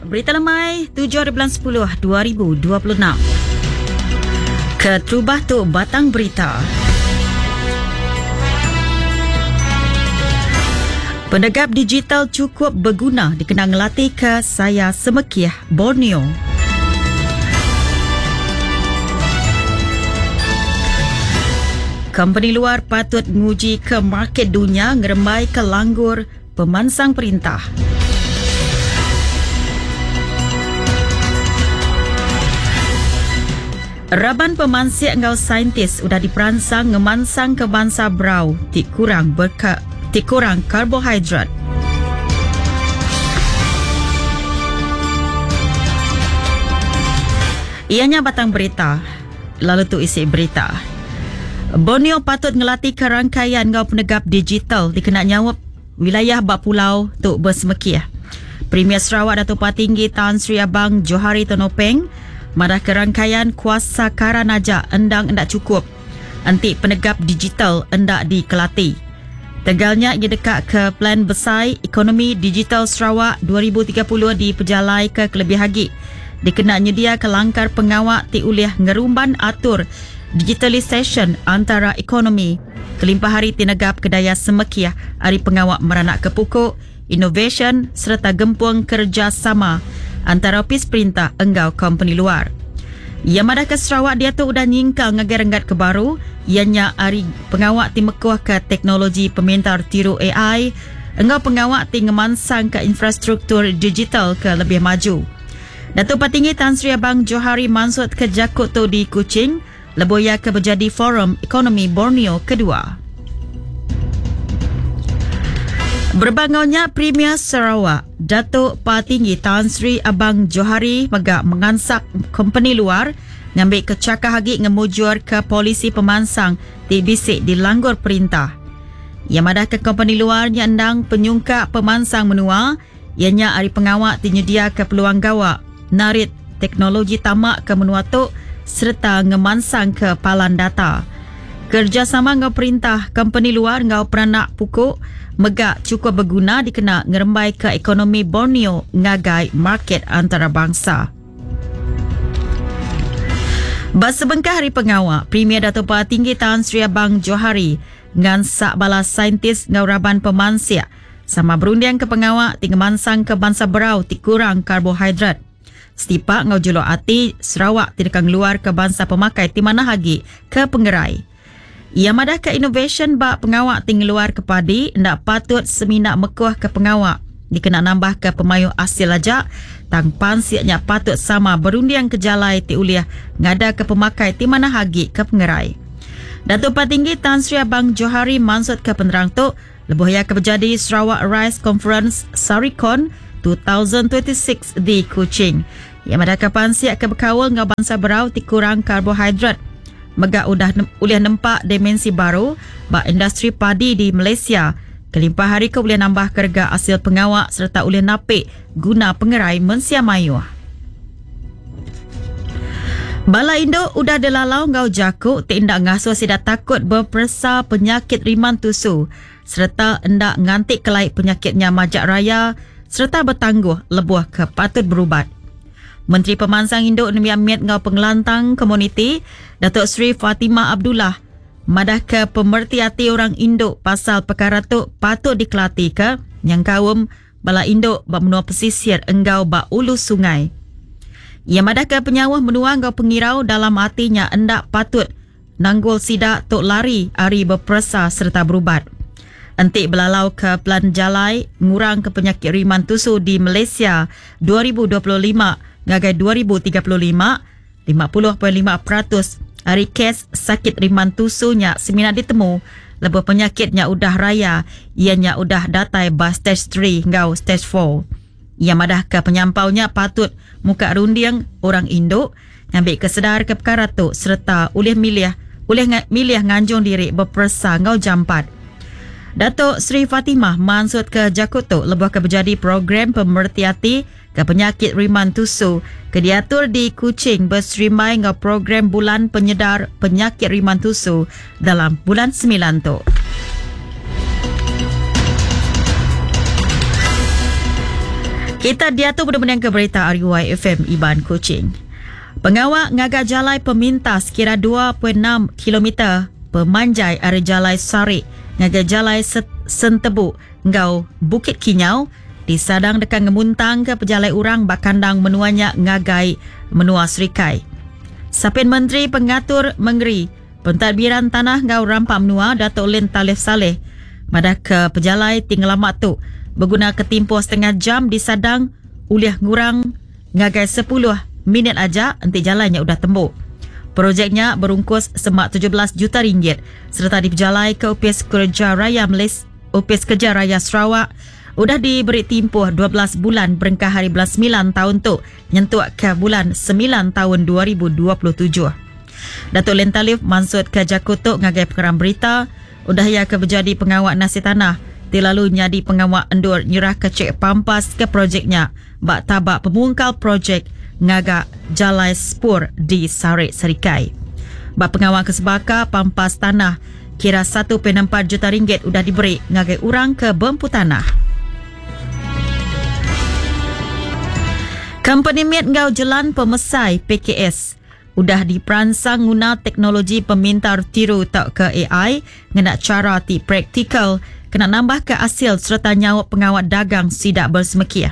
Berita lemai 7 hari bulan 10 2026. Keterubah tu batang berita. Penegap digital chukup beguna dikena ngelatihka saya semekih Borneo. Kompeni luar patut nguji ke market dunya ngerembai ke langgur pemansang perintah. Raban pemansik enggau saintis udah diperansang ngemansangka bansa berau ti kurang berka ti kurang karbohidrat. Iya nya batang berita, lalu tu isi berita. Borneo patut ngelatika rangkaian enggau penegap digital dikena nyaup wilayah ba pulau tu besemekih. Premier Sarawak Datuk Patinggi Tan Sri Abang Johari Tun Openg madahka rangkaian kuasa karan aja endang enda chukup enti penegap digital enda dikelati. Tegal nya iya deka ke Plan Besai Ekonomi Digital Sarawak 2030 dipejalaika kelebih agi dikena nyediaka langkar pengawa ti ulih ngerumban atur digitalisasyen antara ekonomi kelimpah ari ti negapka daya semekih ari pengawa meranakka puku, inovasyen sereta gempung kerejasama antara opis perintah enggau kompeni luar. Iya madahka Sarawak diatu udah nyingkang ngagai renggat ke baru iya nya ari pengawa ti mekuhka teknologi pemintar tiru ai enggau pengawa ti ngemansangka infrastruktur digital ke lebih maju. Datuk Patinggi Tan Sri Abang Johari mansutka jaku tu di Kuching lebuh iya ke bejadi Forum Ekonomi Borneo kedua. Berebak enggau nya, Premier Sarawak, Datuk Patinggi Tan Sri Abang Johari mega mengansak kompeni luar ngambika chakah agi ngemujurka polisi pemansang ti bisi dilanggur perintah. Iya madahka kompeni luar nya endang penyungkak pemansang menua iya nya ari pengawa ti nyediaka peluang gawa, narit teknologi tama ke menua tu sereta ngemansangka palan data. Kerejasama enggau perintah, kompeni luar enggau peranak puku mega chukup beguna dikena ngerembaika ekonomi Borneo ngagai market antarabangsa. Ba sebengkah ari pengawa, Premier Datuk Patinggi Tan Sri Abang Johari ngansak bala saintis enggau raban pemansik Sama berundingka pengawa ti ngemansangka bansa berau ti kurang karbohidrat. Setipak enggau juluk ati Sarawak ti deka ngeluarka bansa pemakai ti manah agi ke pengerai. Iya madahka inovasyen ba pengawa ti ngeluarka padi enda patut semina mekuhka pengawa dikena nambahka pemayuh asil aja tang pansik nya patut sama berundingka jalai ti ulih ngadaka pemakai ti manah agi ke pengerai. Datuk Patinggi Tan Sri Abang Johari mansutka penerang tu Lebuh iya ke bejadi Sarawak Rice Conference, Saricon, 2026 di Kuching, iya madahka pansik ke bekaul enggau bansa berau ti kurang karbohidrat mega udah ulih nempa dimensi baru ba industri padi di Malaysia kelimpah ari ke ulih nambahka rega asil pengawa sereta ulih napi guna pengerai mensia mayuh. Bala indu udah dilalau enggau jaku ti enda ngasuh sida takut beperesa penyakit riman tusu sereta enda nganti kelai penyakit nya majak raya sereta betangguh lebuh ke patut berubat. Menteri Pemansang Indu Nembiak Mit enggau Pengelantang Komuniti, Datuk Seri Fatimah Abdullah madahka pemereti ati orang indu pasal pekara tu patut dikelatika nyengkaum bala indu ba menua pesisir enggau ba ulu sungai. Iya madahka penyauh menua enggau pengirau dalam ati nya enda patut nanggul sida tu lari ari beperesa sereta berubat. Enti belalauka Pelan Jalai Ngurangka Penyakit Riman Tusu di Malaysia 2025 ngagai 2035, 50.5% ari kes sakit riman tusu nya semina ditemu lebuh penyakit nya udah raya iya nya udah datai ba stage 3 enggau stage 4. Iya madahka penyampau nya patut muka runding orang indu ngambika sedarka pekara tu sereta ulih milih ulih milih nganjung diri beperesa enggau jampat. Datuk Seri Fatimah mansutka jaku tu lebuh ke bejadi program pemereti ati ke penyakit riman tusu ke diatur di Kuching beserimbai enggau program Bulan Penyedar Penyakit Riman Tusu dalam bulan semilan tu. Kita diatu benung mendingka berita ari YFM Iban Kuching. Pengawa ngaga jalai pemintas kira 2.6 kilometer pemanjai ari Jalai Sarik ngagai Jalai Sentebu enggau Bukit Kinyau disadang deka ngemuntangka pejalai orang ba kandang menua nya ngagai menua Serikai. Sapit Menteri Pengatur Mengeri, Pentadbiran Tanah enggau Rampa Menua Datuk Len Talif Salleh madahka pejalai ti ngelama tu begunaka timpuh setengah jam disadang ulih ngurang ngagai sepuluh minit aja enti jalai nya udah tembu. Projek nya berungkus semak 17 juta ringgit sereta dipejalaika Opis Kereja Raya Malaysia, Opis Kerja Raya Sarawak udah diberi timpuh 12 bulan berengkah hari bulan semilan taun tu nyentuk ke bulan semilan taun 2027. Datuk Len Talif mansutka jaku tu ngagai pengerang berita udah iya ke bejadi pengawa nasih tanah ti lalu nyadi pengawa endur nyerahka chek pampas ke projek nya ba taba pemungkal projek ngaga Jalai Spur di Sarik Serikai. Ba pengawa ke sebaka, pampas tanah kira 1.4 juta ringgit udah diberi ngagai orang ke bempu tanah. Kompeni mit enggau jelan pemesai PKS udah diperansang nguna teknologi pemintar tiru tauka AI ngena chara ti praktikal kena nambahka asil sereta nyaup pengawa dagang sida besemekih.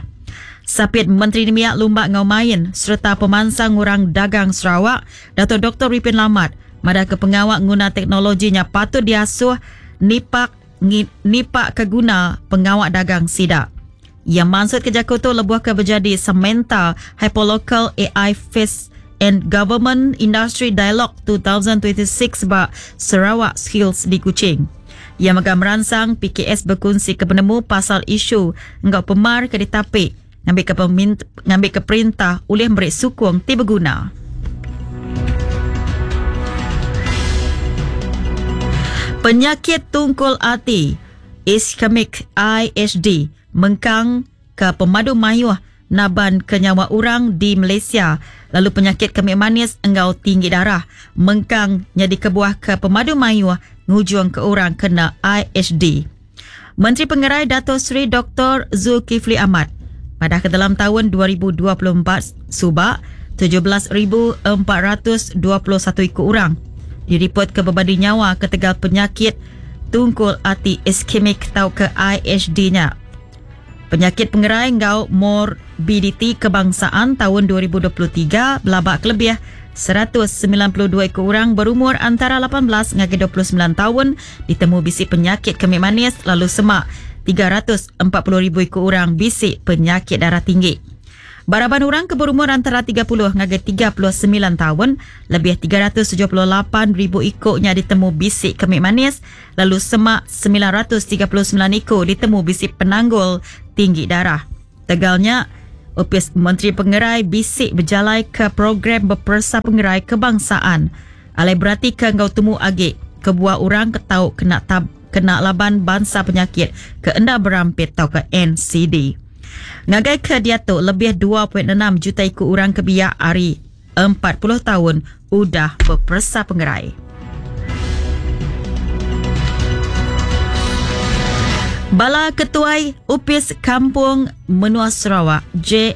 Sapit Menteri Nembiak Lumba enggau Main sereta Pemansang Orang Dagang Sarawak, Datuk Doktor Ripin Lamat madahka pengawa nguna teknologi nya patut diasuh nipak nipak ke guna pengawa dagang sida. Iya mansutka jaku tu lebuh ke bejadi Samantha Hyperlocal AI Fest and Government Industry Dialogue 2026 ba Sarawak Skills di Kuching. Iya mega meransang PKS bekunsika penemu pasal isu enggau pemar ke ditapi ngambika ngambika perintah ulih meri sukung ti beguna. Penyakit tungkul ati, ischemic IHD, mengkang ke pemadu mayuh naban ke nyawa orang di Malaysia lalu penyakit kemik manis enggau tinggi darah mengkang nyadi kebuah ke pemadu mayuh ngujung ke orang kena IHD. Menteri Pengerai Dato Sri Doktor Zulkifli Ahmad madah ke dalam taun 2024 suba 17,421 iku orang diripot ke bebadi nyawa ketegal penyakit tungkul ati iskemik tauka IHD nya. Penyakit Pengerai enggau Morbiditi Kebangsaan taun 2023 belaba kelebih 192 iku orang berumur antara 18 ngagai 29 taun ditemu bisi penyakit kemik manis lalu semak 340,000 iku orang bisi penyakit darah tinggi. Ba raban orang ke berumur antara 30 ngagai 39 taun, lebih 378,000 iku nya ditemu bisi kemik manis lalu semak 939 iku ditemu bisi penanggul tinggi darah. Tegal nya, Opis Menteri Pengerai bisi bejalaika program beperesa pengerai kebangsaan alai beratika enggau temu agi kebuah orang ke tau kena kena laban bansa penyakit ke enda berampit tauka NCD. Ngagai ke diatu lebih 2.6 juta iku orang ke biak ari 40 taun udah beperesa pengerai. Bala ketuai Opis Kampung Menua Sarawak, J.